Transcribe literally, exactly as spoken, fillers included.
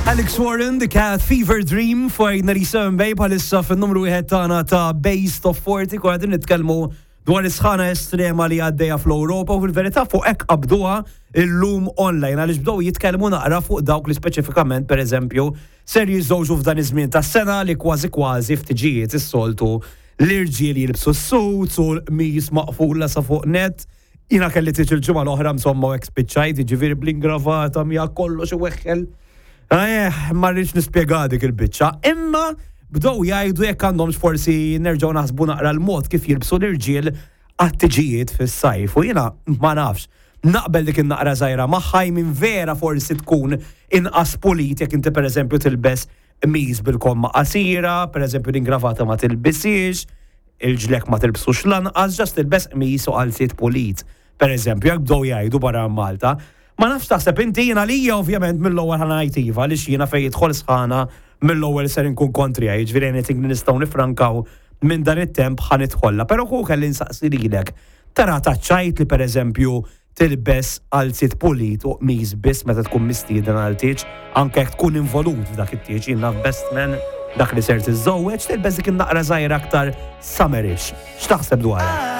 Alex Warren, The Cat Fever Dream fuq ninety-seven Bay bħalissa fin-numru wieħed tagħna ta' Bass Top forty. Konna qegħdin nitkellmu dwar is-sħana estrema li għaddejja fl-Ewropa u fil-verità fuq hekk qabduha illum online, għaliex bdew jitkellmu naqra fuq dawk li speċifikament, pereżempju, ser jiżżewġu f'dan iż-żmien tas-sena, li kważi kważi f'tiġijiet is-soltu l-irġiel jilbsu s-suits u l-qmis maqfula sa fuq net. Jiena kelli tieġ il-ġimgħa l-oħra, insomma, u hekk spiċċajt, jiġifieri bl-ingravata mija kollox iweħħel. Eh, ma rridx nispjega dik il-biċċa. Imma bdew jgħidu jekk għandhomx forsi nerġgħu naħsbu naqra l-mod kif jilbsu l-irġiel għat-tiġijiet fis-sajf. U jiena ma nafx. Naqbel dik in-naqra żgħira magħha, minn vera forsi tkun inqas pulit jekk inti, pereżempju, tilbes qmis bil-komma qasira, pereżempju l-ingravata ma tilbisix, il-ġlek ma tilbsux lanqas, just tilbes qmis u qalziet pulit. Per eżempju, jekk bdew jgħidu barra Malta. Ma nafx taħseb inti, jiena lija ovvjament mill-ewwel ħa ngħid iva, għaliex jiena fejn jidħol sħana mill-ewwel ser inkun kontrija, jiġifieri anything li nistgħu nifrankaw minn dan it-temp ħa nidħolla. Però ku kelli nsaqsi lilek. Tara taċċajt li, pereżempju, tilbes qalziet pulit u qmis biss meta tkun mistieden għal tieġ, anke jekk tkun involut f'dak it-tieġ, jien naf best man, dak li ser tiżżewweġ, tilbes dik in-naqra żgħira aktar summerish? X'taħseb dwarha?